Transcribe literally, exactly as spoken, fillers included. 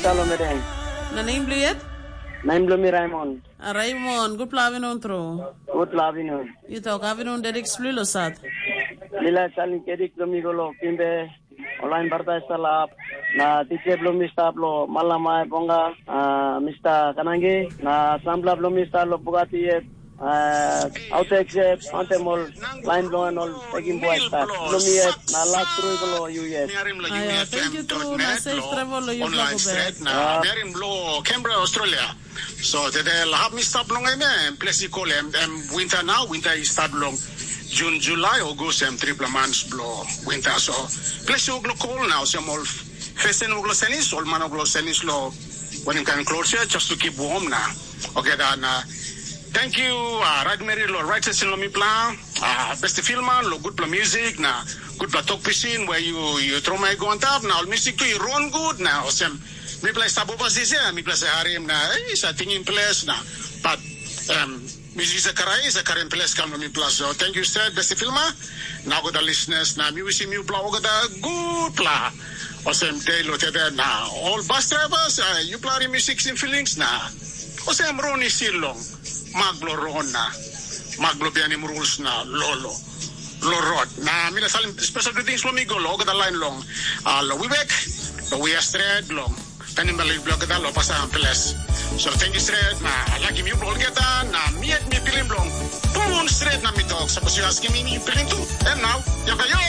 Salomedeng. Na nem bilong yet? Nem bilong mi Raymond. A Raymond, gutpela avinun tru. Gutpela avinun. Yu tok avinun dedik spli lo sat. Mi laik salim kedik bilong mi go lo Kimbe. Olain barta i salap. Na titsa bilong mi stap lo Malamai Bonga, uh, Mista Kanangi. Na sampela bilong mi stap lo Bugatti yet. Uh, auto exit, antem ol lain bilong en ol bekim buai stap. Bilong mi yet, na las tru i go lo yu yet. Ayo, thank you tru, na safe travel lo yu Black Obed. Na merim lo Canberra, Australia. So tede la hap mi stap long em, em ples i kol em, em winter nau, winter i stap long Jun, Julai, August, em tripela mans bilong winter. So ples i wok lo kol nau, sem ol fesen wok lo senis, ol man wok lo senis lo wanem kain klos ya, just to keep warm na. Okay, dan, uh, thank you, uh, right meri lo right session lo mipela, uh, besti filma, lo gutpela music na gutpela tok pisin, where you, you throw my go on top, na ol music tu i run good na, osem, mipela i stap overseas ya, mipela sa harim na, eh, sa tingim ples na, but, um, music sa karai, sa karim ples kam na mipela. So, thank you, said, besti filma, na go the listeners, na mi wisim yupela olgeta gutpela. Osem, day lo tebe na, all bus drivers, uh, yupela harim music sin feelings na, osem, run i silong, mak lo run na, mak lo bianim rules na, lolo. Lo rot. Na mi na salim special greetings lo mi go lo olgeta lain long, uh, lo Wibek, lo Wia Stret, long Tanimali, lo olgeta lo Pasang Peles. So thank you stret, na lakim yu olgeta, na mi yet mi pilim long pun stret na mi tok. Sapos yu askim mi, mi pilim tu, em nau, yaka yo!